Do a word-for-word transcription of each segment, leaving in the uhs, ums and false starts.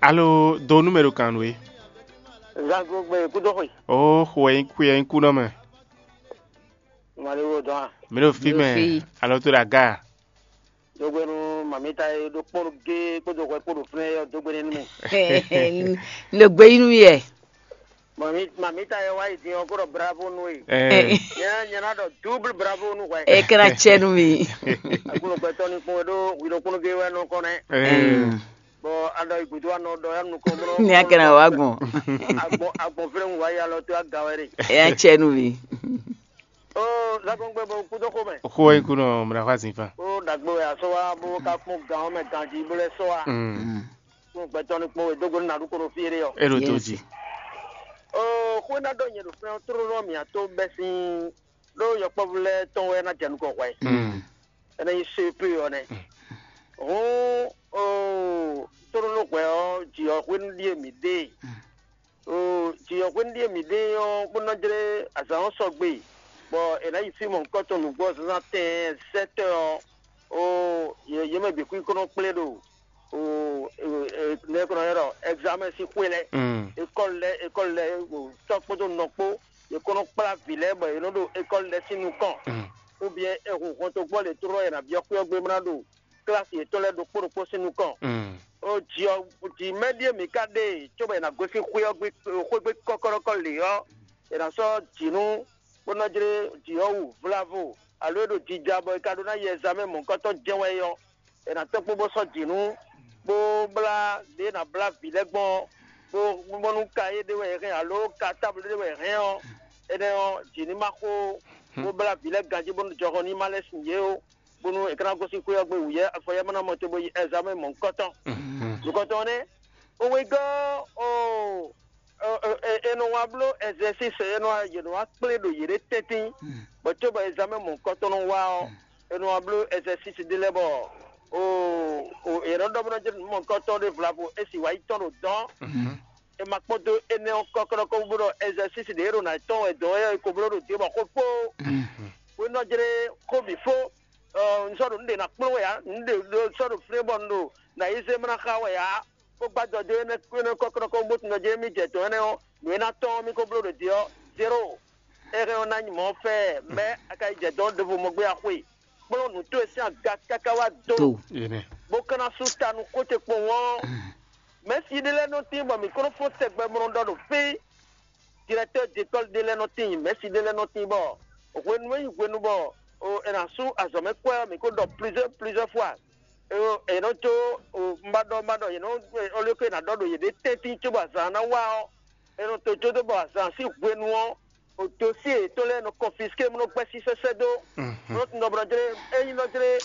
Alo do nú mɛ ɖo kan nú é. Zango gbe kúdó xwe. Ó xwe xwe nyí kúnɔ mɛ. Mali wo dɔn a? Mi ɖo fí mɛ. Alo tó ɖo aga. Dogbe nú mamita e ɖo kpɔ́n gé kpódó hwɛ kpó ɖo flɛ́n yɔ dogbe nú mi. N ɖo gbe yí nú yɛ. Mamita e wá yi din ɔ́ kó ɖɔ bravo nú we. Nyɛ nyɛ ná ɖɔ double bravo nú hwɛ. E kɛra cɛ nú mi. Akunlɔgbɛtɔ ní kpɔn e ɖó hwi ɖokpónɔ gé wɛ nɔ kɔn nɛ. Bɔ aɖɔ yi gǔdo anɔ ɖɔ ya nukɔn mlɔ. Ní a kɛra wá gbɔn. Agbɔn agbɔn fɛnɛ wá ya lɔ tó aga wɛ ɖe. E ya cɛ nú mi. Oo, Zakɔn gbɛ bɔ kúdó xomɛ. Xó wɛ nyí kú nɔ mla xá zin fan. Ó ɖagbe wɛ asɔ wa bó ká kpɔn gan ɔ́ mɛ ganjí bó lɛ́ sɔ wa. Kún gbɛtɔ́ ní kpɔn wɛ dógó ní nàɖú kónó fí éɖé ɔ́. É ɖo tó jí. Oo, xó ná ɖɔ nyɛ ɖo fɛn tlóló mǐ ató bɛ́ sín ɖó yɔkpɔ́vú lɛ́ɛ tɔn wɛ ná jɛ nukɔn hwɛ. Énɛ́ nyí C P ɔ́ nɛ́. Hǔn oo, tlóló hwɛ ɔ́, jǐ ɔ́ hwenu ɖíe mǐ ɖe. Oo, jǐ ɔ́ hwenu ɖíe mǐ ɖe ɔ́, bó nɔ jlé azǎn ɔ́ sɔgbe, bɔ è nǎ yi fí mɔ̌hunkɔtɔn nǔgbó ɔ́ zǎnzǎn tɛɛn sɛ́tɔ́ ɔ́, oo, yě mɛ bǐ xwí kó nɔ kplé ɖo nɛ̌ kó nɔ ylɔ́ ɖɔ examen sín xwé lɛ́ɛ, école lɛ́ɛ, école lɛ́ɛ, tɔ́ kpódó nɔ kpó, yě kó nɔ kplá vǐ lɛ́ɛ bɔ yě nɔ ɖo école lɛ́ɛ sín nukɔn, ou bien è hun hɔntogbó lě tlóló è nǎ byɔ́ xwé ɔ́ gbe bó ná ɖo klasi yětɔn lɛ́ɛ ɖokpó ɖokpó sín nukɔn. Ó jǐ ɔ́ jǐ mɛ ɖíe mǐ ka ɖe cóbɔ è nǎ gosín xwé ɔ́ gbe xwé gbe kɔ́kɔ́ɖɔkɔ́ lě ɔ́, è nǎ sɔ́ jǐ nú bó nɔ́ jlé jǐ ɔ́ wú vlavo, alo é ɖo jija bɔ è ka ɖó ná yi ɛzamɛ́ mɔ̌hunkɔtɔn jɛ́n wɛ é ɔ́, è nǎ tɔ́n kpó bó sɔ́ jǐ nú, bó blá lě e è nǎ blá vǐ lɛ́ɛ gbɔn ɔ́, bó bónú ka éɖée wɛ è hɛn alo ka táblu éɖée wɛ è hɛn ɔ́, énɛ́ ɔ́, jǐ ní ma xó bó blá vǐ lɛ́ɛ ganjí bónú jɔhɔn ní ma lɛ́ sin yě ó, bónú è ka ná gosín xwé ɔ́ gbe wǔyɛ́ afɔyɛ́ ma ná mɔ cóbó yi ɛzamɛ́ mɔ̌hunkɔtɔn. Nǔkɔntɔn nɛ́, wegɔ́ ɔ́, è nɔ wá bló ɛzɛsísi, è nɔ wá yě nɔ wá kplé ɖo yěɖée tɛ́ntin, bɔ cóbɔ ɛzamɛ́ mɔ̌hunkɔtɔn nɔ wá ɔ́, è nɔ wá bló ɛzɛsísi ɖé lɛ́ɛ bɔ yě nɔ ɖɔ bó nɔ jɛ nǔ mɔ̌hunkɔtɔn ɖé vlavo é sì wá yi tɔn ɖo dɔ̌n. È ma kpɔ́n dó énɛ́ ɔ́ kɔ́kɔ́ɖɔkɔ́ bó ɖɔ ɛzɛsísi ɖě e ɖo nǎ tɔn wɛ dɔ̌n é ɔ́, è ko bló ɖo dě bɔ xó fó. Hwenu ɔ́ jlé xó bǐ fó, un sɔ́ ɖo nǔ ɖě ná kplɔ́n wɛ ǎ, nǔ ɖě sɔ́ ɖo flɛ́n bɔ un ɖo nǎ yi zé mlá xá wɛ ǎ, bó gbá jɔ dó énɛ́ kɔ́kɔ́ɖɔkɔ́ bó tunwun ɖɔ jɛ́n émí jɛ dɔ̌n énɛ́ ɔ́, nǔ e ná tɔ́n ɔ́, mì ko bló ɖo dě ɔ́, zéro. É hɛn ɔ́ ná nyi mɔ̌ fɛ́ɛ mɛ a ka yi jɛ dɔ̌n ɖěvo mɔ gbé axwe, kplɔ́n nǔ towe sín aga káká wá do, bó ka ná sú ta nú xó ce kpowun ɔ́. Mɛ̌si ɖé lɛ́ɛ nɔ tín bɔ mǐ ko nɔ fɔ́n tɛgbɛ mɔ ɖɔ ɖo fí. Directeur d'école ɖé lɛ́ɛ nɔ tín, mɛ̌si ɖé lɛ́ɛ nɔ tín bɔ hwenu e nyí hwenu bɔ è nǎ sú azɔ̌ mɛ kwɛ́ ɔ́, mǐ ko ɖɔ plusieurs plusieurs fois. È nɔ jó, un ba ɖɔ un ba ɖɔ yě nɔ, olio ke è nǎ ɖɔ ɖo yěɖée tɛ́ntin cóbɔ azǎn ná wá ɔ́, è nɔ to jó dó bɔ azǎn sín hwenu ɔ́, dosyé yětɔn lɛ́ɛ nɔ confisqué, bó nɔ gbɛ́ sísɛ́sɛ́ dó, bó nɔ tunwun ɖɔ bó nɔ jlé, ényí nɔ jlé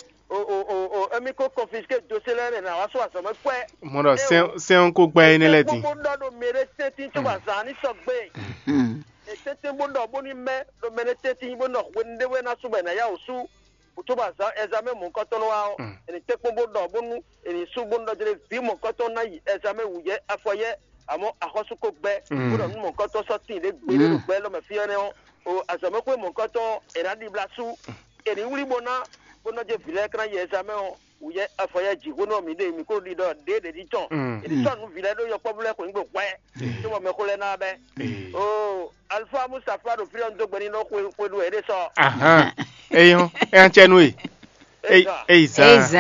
émí ko confisqué dosyé lɛ́ɛ nɛ́ ná wá sú azɔ̌ mɛ kwɛ́. Mɔ ɖɔ sɛ́n sɛ́n ɔ́ ko gbá énɛ́ lɛ́ɛ din. Bó ɖɔ ɖo mɛ ɖé tɛ́ntin cóbɔ azǎn ní sɔgbe. È tɛ́ntin bó ɖɔ bónú mɛ ɖo mɛ ɖé tɛ́ntin bó nɔ hwenu ɖé wɛ ná sú bɔ è nǎ yá wǔ sú. Cóbɔ azǎn ɛzamɛ́ mɔ̌hunkɔtɔn nɔ wá ɔ́, è nǐ tɛ́nkpɔ́n bó ɖɔ bónú è nǐ sú bónú ɖɔ jlé vǐ mɔ̌hunkɔtɔn ná yi ɛzamɛ́ wǔyɛ́ afɔyɛ́, amɔ̌ axɔ́sú ko gbɛ́, bó ɖɔ nú mɔ̌hunkɔtɔn sɔ́ tíin ɖě gbeɖé ɖo gbɛ élɔ́ mɛ fí ɔ́ nɛ́ ɔ́, o azɔ̌ mɛ xwé mɔ̌hunkɔtɔn è nǎ ɖibla sú. È nǐ wlí bó ná bó nɔ́ jɛ vǐ lɛ́ɛ kán yi ɛzamɛ́ ɔ́, wǔyɛ́ afɔyɛ́ jǐxwénú ɔ́ mǐ ɖe mǐ ko ɖiɖɔ ɖěɖě ní tɔn. È nǐ sɔ́ nǔ vǐ lɛ́ɛ ɖó yɔkpɔ́vú lɛ́ɛ xweyǐgbe hwɛ, cóbɔ mɛxó lɛ́ɛ ná wá bɛ́. Oo, Alfa Mustafa ɖo fí ɔ́, un dó gbe n'i ɖɔ xwe xwe ɖu wɛ é ɖe sɔ. Ahan, eyɔn, é ná cɛ nú we. Eyi zan.